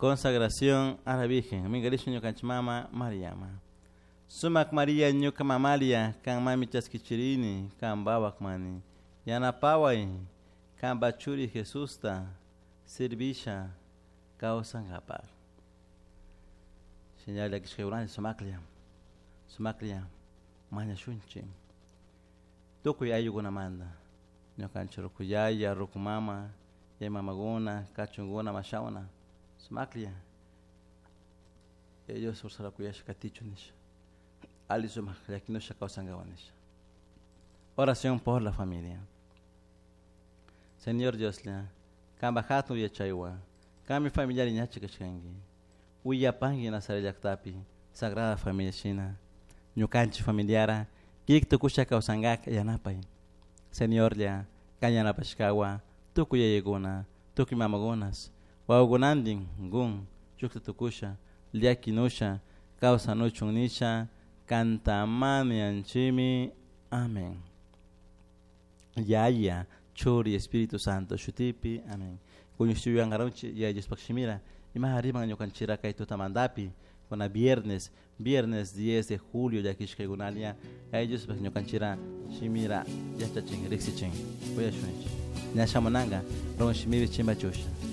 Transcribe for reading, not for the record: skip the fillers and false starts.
Consagración a la Virgen. Mingarishun ñukanchik mama Mariama. Sumak Maria ñuka mamalia kan mami chaskichirini kan bawak mani. Yanapaway kan bachuri Jesusta servisha kawsankapaq. Señal llakishkaykunata sumaklla sumaklla mañashunchik tukuy ayllukunamanta ñukanchik ruku yaya, ruku mama, yaya mamakuna, kachunkuna, mashawna sumaklla Dios ursara kuyasha katichun nisha ali sumak llakinusha kawsankawan nisha. Oración por la familia. Señor Dioslla, kanpak hatun yachaywan, kanmi familiar ñachi kashkanki. Willapanki Nazaret llaktapi, Sagrada Familia shina, ñukanchik familiara, kik tukusha kawsankak yanapay. Señorlla, kan yanapashkawa, tukuy yayakuna, tukuy mamakunas, wawakunantin gun, shukta tukusha, llakinusha, kawsanuchun nisha, kantamanianchimi. Amén. Yaya, Churi, Espíritu Santo, shutipi, amén. Kuñushuyuyanqarunchik Yaya Diospaq shimira, ima riman ñukanchira kay tutamantapi, kuna viernes, viernes 10 de julio llakishkaykunalla, Yaya Diospaq ñukanchira shimira yachachin, riqsichin, uyashunchik. Ña shamunanka, run shimipi chimpachusha.